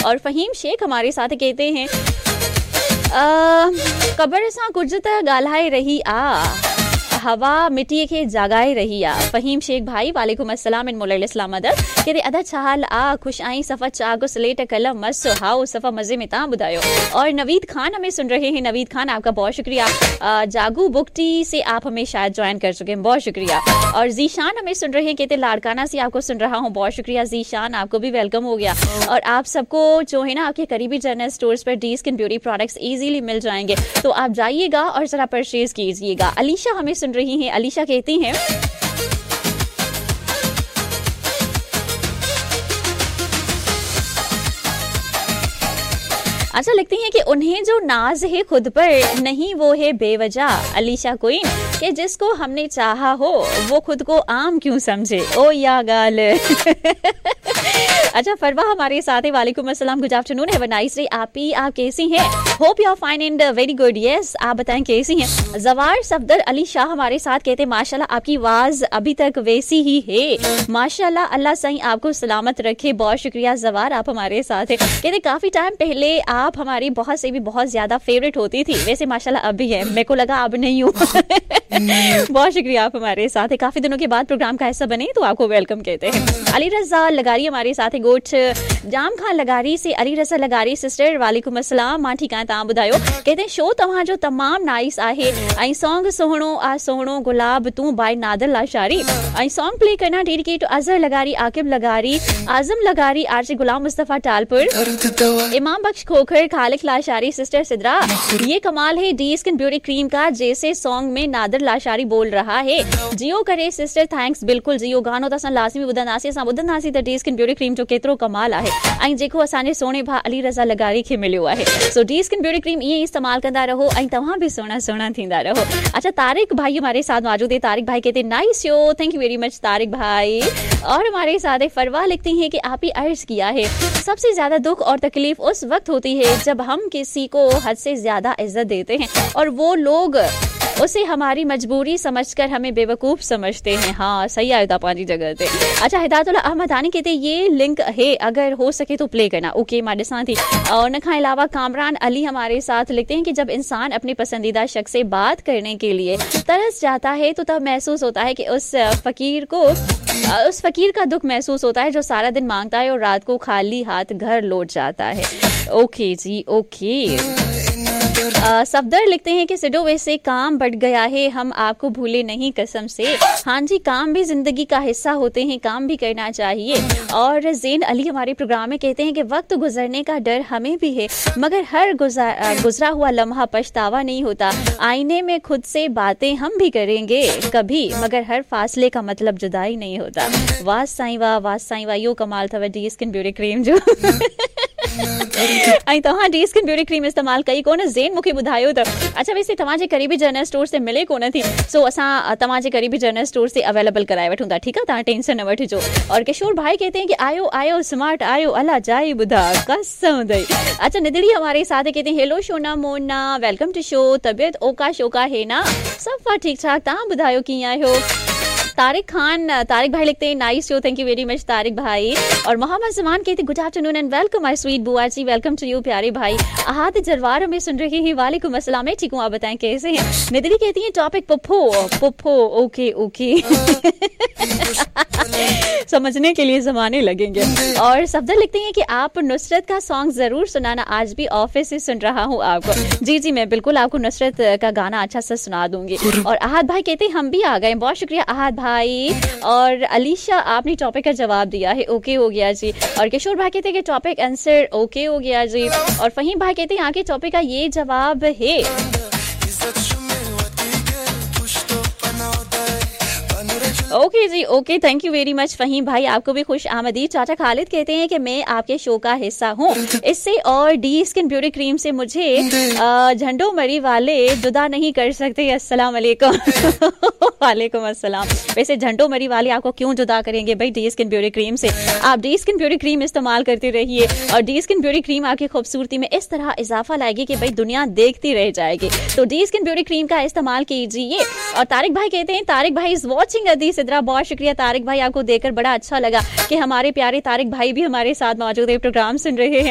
और फ़हीम शेख हमारे साथ कहते हैं क़बर सां कुझु त ॻाल्हाए रही आ, हवा मिटीअ खे जाॻाए रही आ। फ़हीम शेख भाई वालेकुम अस्सलाम इन मोला इस्लाम अदब। कहते अदा छा हाल आ, ख़ुशि आहीं? सफ़ा चाक स्लेट कलम मस how सफ़ा मज़े में, तव्हां ॿुधायो। और नवीद खान हमें सुन रहे हैं, नवीद खान आपका बहुत शुक्रिया। जागू बुकटी से आप हमें शायद ज्वाइन कर चुके हैं, बहुत शुक्रिया। और जीशान हमें सुन रहे हैं, कहते लाड़काना से आपको सुन रहा हूँ, बहुत शुक्रिया जीशान, आपको भी welcome हो गया। और आप सबको जो है ना आपके करीबी जनरल स्टोर्स पर D skin beauty products easily मिल जाएंगे, तो आप जाइएगा और ज़रा परचेज कीजिएगा। अलीशा हमें सुन रही हैं, अलीशा कहती हैं अच्छा लगती हैं कि उन्हें जो नाज है खुद पर नहीं वो है बेवजह। अलीशा क्वीन कि जिसको हमने चाहा हो वो खुद को आम क्यों समझे, ओ या गाल। अच्छा फरवा हमारे साथ है, वालेकुम अस्सलाम, good afternoon, have a nice day. आप ही आप कैसी हैं? Hope you are fine and very good. Yes आप बताएं कैसी हैं? जवार सफदर अली शाह हमारे साथ कहते हैं माशाल्लाह आपकी आवाज़ अभी तक वैसी ही है, माशाल्लाह अल्लाह सही आपको सलामत रखे। बहुत शुक्रिया जवार, आप हमारे साथ हैं। कहते काफ़ी टाइम पहले आप हमारी बहुत से भी बहुत ज़्यादा फेवरेट होती थी, वैसे माशाल्लाह अब भी है, मेरे को लगा अब नहीं हूँ। बहुत शुक्रिया आप हमारे साथ है, काफ़ी दिनों के बाद प्रोग्राम का हिस्सा बने तो आपको welcome कहते हैं। अली रज़ा लगारी हमारे साथ है, गोठ जाम खान लगारी से अली रज़ा लगारी सिस्टर वालेकुम अस्सलाम, मां ठीक आहियां, तव्हां ॿुधायो। कहते हैं शो तव्हां जो तमाम नाइस आहे ऐं सॉन्ग सुहिणो आ सुहिणो गुलाब तूं बाय नादर लाशारी ऐं सॉन्ग प्ले करना डेडिकेट अज़हर लगारी, आकिब लगारी, आज़म लगारी, आरजी गुलाम मुस्तफ़ा टालपुर, इमाम बख्श खोखर, खालिक लाशारी, सिस्टर सिद्रा। ये कमाल है डी स्किन ब्यूटी क्रीम का, जैसे सॉन्ग में नादर लाशारी बोल रहा है। जियो करे सिस्टर thanks, बिल्कुल जियो गानो त असां लाज़मी ॿुधंदासीं, असां ॿुधंदासीं त डी स्किन ब्यूटी क्रीम जो केतिरो कमाल आहे ऐं जेको असांजे सोणे भाउ अली रज़ा लगारी खे मिलियो आहे। So D skin beauty cream ईअं ई इस्तेमालु कंदा रहो ऐं तव्हां बि सुहिणा सुहिणा थींदा रहो। अच्छा तारिक भाई हमारे साथ मौजूद है, तारिक भाई कहते nice show, thank you very much Tariq भाई। और हमारे साथ फरवा लिखती हैं कि आप ही अर्ज किया है सबसे ज़्यादा दुख और तकलीफ उस वक्त होती है जब हम किसी को हद से ज़्यादा इज्जत देते हैं और वो लोग उसे हमारी मजबूरी समझकर हमें बेवकूफ़ समझते हैं। हाँ सही आयो था पंहिंजी जॻह ते। अच्छा हिदायतुल्लाह अहमदानी कहते ये लिंक है अगर हो सके तो प्ले करना। ओके मां ॾिसां थी। और उन खां अलावा कामरान अली हमारे साथ लिखते हैं कि जब इंसान अपने पसंदीदा शख्स से बात करने के लिए तरस जाता है तो तब महसूस होता है कि उस फ़कीर का दुख महसूस होता है जो सारा दिन मांगता है और रात को खाली हाथ घर लौट जाता है। ओके जी ओके। सफदर लिखते हैं कि सिडो वैसे काम बढ़ गया है, हम आपको भूले नहीं कसम से। हाँ जी काम भी ज़िंदगी का हिस्सा होते हैं, काम भी करना चाहिए। और ज़ैन अली हमारे प्रोग्राम में कहते हैं कि वक्त गुजरने का डर हमें भी है मगर हर गुजरा हुआ लम्हा पछतावा नहीं होता। आईने में खुद से बातें हम भी करेंगे कभी मगर हर फासले का मतलब जुदाई नहीं होता। वाह साईं वाह, वाह साईं वाह, यो कमाल अथव डी स्किन ब्यूटी क्रीम जो। ऐं तव्हां डी स्किन ब्यूटी क्रीम इस्तेमालु कई कोन? ज़ैन मूंखे ॿुधायो त अच्छा वैसे तव्हांजे करीबी जनरल स्टोर ते मिले कोन थी, सो असां तव्हांजे करीबी जनरल स्टोर ते अवेलेबल कराए वठूं था, ठीकु आहे, तव्हां टेंशन न वठिजो। और किशोर भाई कहते हैं कि आयो आयो स्मार्ट आयो अला जाए ॿुधा कसम अथई। अच्छा निदड़ी हमारे साथ कहते हैं hello Shona Mona, welcome to show, तबियत ओका शोका है ना? सफ़ा ठीक ठाक, तव्हां ॿुधायो कीअं आहियो? तारिक खान, तारिक भाई लिखते हैं nice show, thank you very much Tariq भाई। और मोहम्मद जमान कहते good afternoon and welcome my sweet बुआ जी, welcome to you प्यारे भाई। अहाद जरवार हमें सुन रहे हैं, वालेकुम अस्सलाम, मैं ठीक हूँ, आप बताएं कैसे हैं? निदरी कहती हैं टॉपिक पप्पो पप्पो, ओके ओके समझने के लिए जमाने लगेंगे। और सफदर लिखते हैं कि आप नुसरत का सॉन्ग ज़रूर सुनाना, आज भी ऑफिस से सुन रहा हूँ आपको। जी जी मैं बिल्कुल आपको नुसरत का गाना अच्छा सा सुना दूंगी। और अहाद भाई कहते हैं हम भी आ गए, बहुत शुक्रिया अहाद भाई। और अलीशा आपने टॉपिक का जवाब दिया है, ओके हो गया जी। और किशोर भाई कहते हैं कि टॉपिक आंसर ओके हो गया जी। और फहीम भाई कहते हैं आगे टॉपिक का ये जवाब है। Okay ji okay, thank you very much Faheem भाई, आपको भी खुश आमदीद। चाचा खालिद कहते हैं कि मैं आपके शो का हिस्सा हूँ, इससे और डी स्किन ब्यूटी क्रीम से मुझे झंडो मरी वाले जुदा नहीं कर सकते। अस्सलाम वालेकुम। वालेकुम अस्सलाम। वैसे झंडो मरी वाले आपको क्यों जुदा करेंगे भाई डी स्किन ब्यूटी क्रीम से? आप डी स्किन ब्यूटी क्रीम इस्तेमाल करते रहिए और डी स्किन ब्यूटी क्रीम आपकी खूबसूरती में इस तरह इजाफा लाएगी कि भाई दुनिया देखती रह जाएगी। तो डी स्किन ब्यूटी क्रीम का इस्तेमाल कीजिए। और तारिक भाई कहते हैं, तारिक भाई is watching अदी सिद्रा, बहुत शुक्रिया तारिक भाई, आपको देखकर बड़ा अच्छा लगा कि हमारे प्यारे तारिक भाई भी हमारे साथ मौजूद है, प्रोग्राम सुन रहे हैं।